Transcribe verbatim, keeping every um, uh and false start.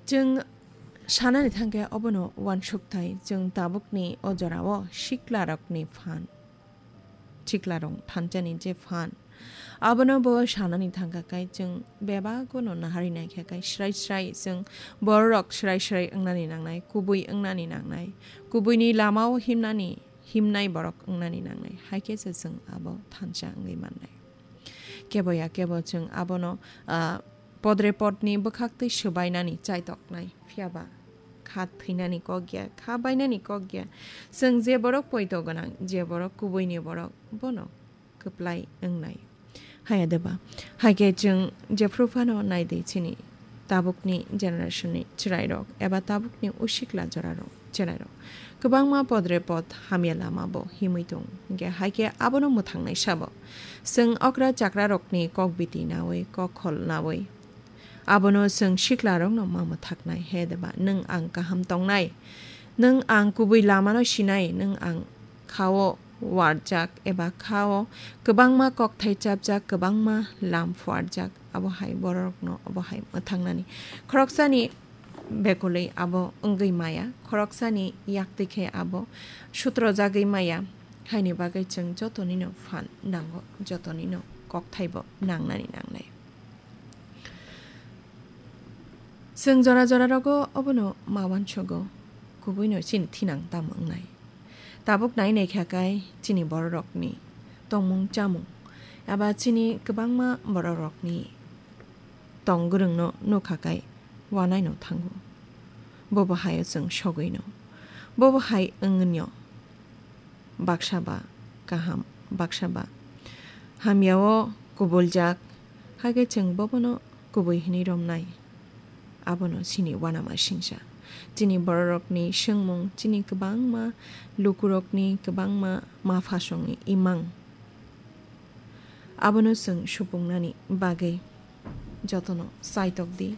Chwng sanani thangkhe obono uansukthai, chwng tabukni o jorao siklarokni phan, siklarok thanchani je phan, abono bo sanani thangkha khe chwng bebagono nahari naikha khe srai srai chwng bororok srai srai wngnani nangnai, kubui wngnani nangnai, kubuini lamao himnani, himnai borok wngnani nangnai, hai khe se chwng abo thansa wngwi mannai. Kebo ya kebo chwng abono, ah, podre podni bwkhaktwi swbainani chaitoknai, phiya ba kha thwinani kok ya, kha bainani kok ya. Chwng je borok poito gwnang, je borok kubuini borok, bono kwplai wngnai. Haya de ba? Hai khe chwng jephru phano nai di chini tabukni generation ni chwrairok eba tabukni usikla jorarok, chwrairok kwbangma podre pod hamya lama bo himwi tong. Hwnkhe hai khe abono mwthangnai sabo. Chwng okra chakrarokni kok biti naui, kok khol naui, abono chwng siklarokno ma mwthaknai, he deba, nwng ang kaham tongnai, nwng ang kubui lamano sinai, nwng ang khao warjak eba khao kwbangma kokthai chapjak, kwbangma lam phuarjak, abo hai bororokno obo hai mwthangnani. Khoroksani bekolwi abo wngwi maya, khoroksani yaktwi khe abo sutrojagwi maya, haini bagwi chwng jotonino phan nango, jotonino kokthaibo nangnani nangnai. Chwng jora jora rogo obono ma uansugo, kubuino chini thinang tamo wngnai. Tabuk nai naikha khe chini bororokni tongmung chamung eba chini kwbangma bororokni tong gwrwngno nukha khe wanaino thango. Bobo haio chwng sogwino. Bobo hai wngnio. Baksa ba kaham, baksa ba hamyao kubuljak, hakhe chwng bobono kubui hwnwi romnai. Abono chini uanama singsa. Chini bororokni swngmung, chini kwbangma lukurokni, kwbangma ma phasongni imang. Abono chwng supungnani bagwi jotono chaitok di,